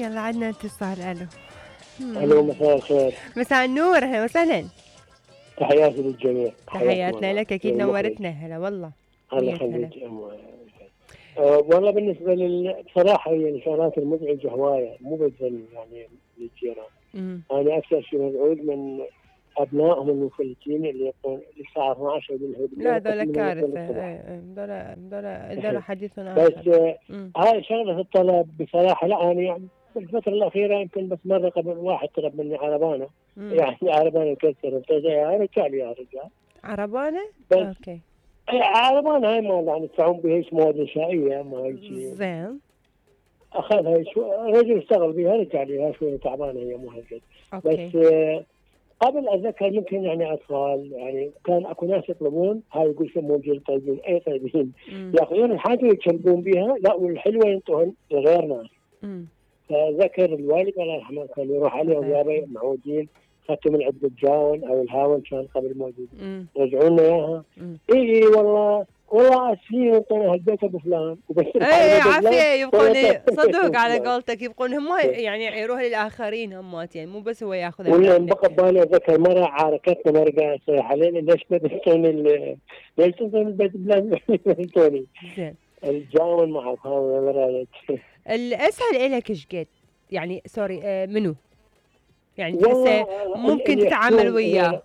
يلا عندنا اتصال. الو. الو، مساء الخير. مساء النور، اهلا وسهلا. تحياتي للجميع. تحياتنا لك، اكيد نورتنا. هلا والله. الله يخليك. والله بالنسبه بصراحه هي الشغلات المزعجه هوايه، مو بس يعني للجيران. انا اكثر شيء مزعوج من ابنائهم المفلتين اللي يقوم الساعه 12 بالليل. لا دول كارثه. دول حديث اخر. بس هاي شغله الطلب بصراحه. لا انا يعني بالفتره الاخيره يمكن بس مره قبل واحد طلب مني عربانه. يعني عربانه مكسره، انا رجال يا رجال عربانه. اوكي. عربانه هاي ما يعني يدفعون بها هيك مواد نسائيه، ما هيك زين. اخذها رجل اشتغل بها، رجع لي شويه تعبانه هي مو هالقد. بس قبل اتذكر ممكن يعني اطفال، يعني كان اكو ناس يطلبون هاي يقول سمون جيل طيبين، اي طيبين ياخذون الحاجه ويتشلبون بها، لا والحلوه ينطون لغير ناس. فذكر الوالد الله يرحمه كان يروح عليهم يابا معودين، اخذتوا من عند الجاون او الهاون كان قبل موجود، رجعوا لنا اياها. اي والله اسفين ينطونا هالبيت ابو فلان وبس. اي عافيه يبقون صدق على قولتك، يبقون هم يعني يعيروها للاخرين همات، يعني مو بس هو ياخذها. ولا بقى ببالي اتذكر مره عاركتنا مره قاعد تصيح علينا ليش ما تنطون البيت فلان ينطوني. زين. الجاون معه هذا رايك. الاسهل الك ايش قد؟ يعني سوري منو؟ يعني تحسه ممكن تتعامل وياه.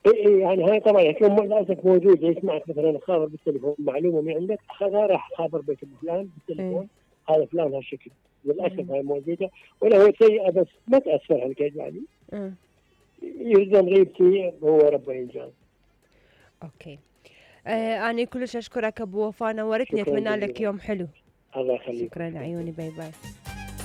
اي يعني هاي طبعا يكون للاسف موجود، يسمعك مثلا خابر بالتليفون معلومه من عندك اخذها راح خابر بيت ابو فلان بالتليفون. هذا فلان هالشكل للاسف هاي موجوده، ولا هو سيئه بس ما تاثر هالقد يعني. يلزم غيبتي هو ربه ينجان. اوكي. انا كلش اشكرك ابو وفاء، نورتني. اتمنى لك يوم حلو. الله يخليك. شكرا لعيوني. باي باي.